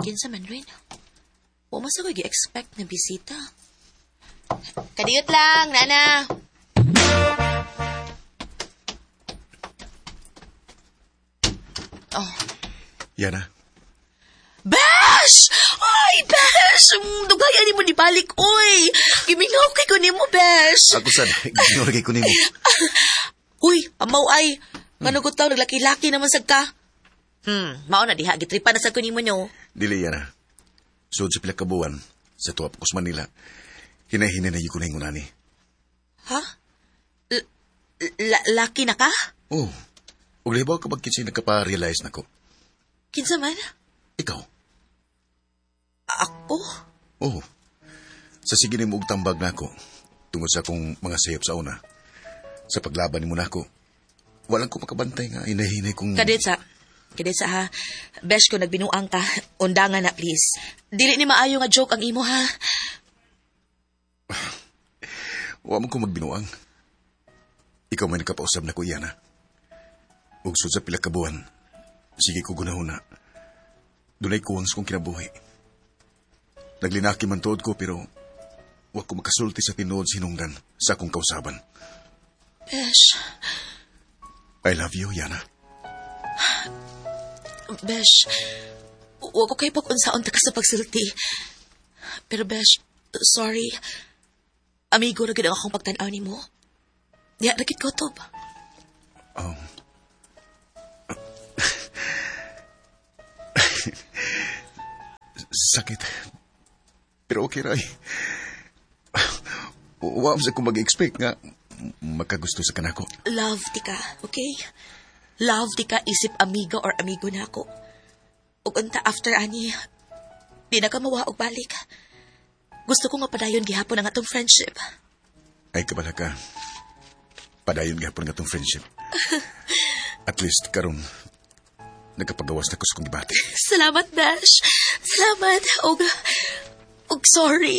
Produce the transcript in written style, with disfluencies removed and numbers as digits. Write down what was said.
Kinsa man, Rin? Wa man sa ko gi-expect na bisita. Kadiyot lang, nana. Oh. Yana. Besh! Ay, Besh! Dugay ani mo nibalik, oy! Gimingaw kay ko nimo, Besh! Ako sad, gimingaw kay ko nimo. Uy, amaw ay! Ngano ko taw, naglaki-laki naman sad ka. Mao na diha, gitripa na sad ko nimo nyo. Dili, Yana. Sud sa pila ka buwan, sa tuwa pa ko sa Manila, hinahinay na yun ko na ingon ani. Ha? Laki na ka? Oo. Ug lahibaw ka pag kinsay nagkapa-realize na ko. Kinsa man? Ikaw. Ako? Oo. Sa sige nimo og tambag nako, tungod sa akong mga sayop sa una, sa paglaban nimo nako, walang ko makabantay nga hinahinay kong... Kadetsa. Kadetsa ha. Besh ko nagbinuang ka. Undangan na, please. Dili ni maayo nga joke ang imo ha. Wa man ko magbinuang. Ikaw may nakapausab na ko, Yana. Ug sud sa pila ka buwan, sige ko gunahuna. Dunay kuwang sa kong kinabuhi. Naglinaki man tuod ko pero wa ko makasulti sa tinuod sinungdan sa akong kausaban. Besh. I love you, Yana. Besh, wa ko kay pag-unsaon ta ka sa pagsulti. Pero Besh, sorry. Amigo ra gid ang akong pagtan-aw nimo. Diha ra gid ko tob. Sakit. Pero okay ra. Wa sa ko mag-expect nga makagusto sa kanako. Love ti ka, okay? Love ti ka isip amiga or amigo na ako. Ug unta after ani, di na ka mawa og balik. Gusto ko nga padayon gihapon ang atong friendship. Ay, kabala ka. Padayon gihapon ang atong friendship. At least karon nagkapagawas na ko sa kong gibati. Salamat, Dash. Salamat. Og sorry.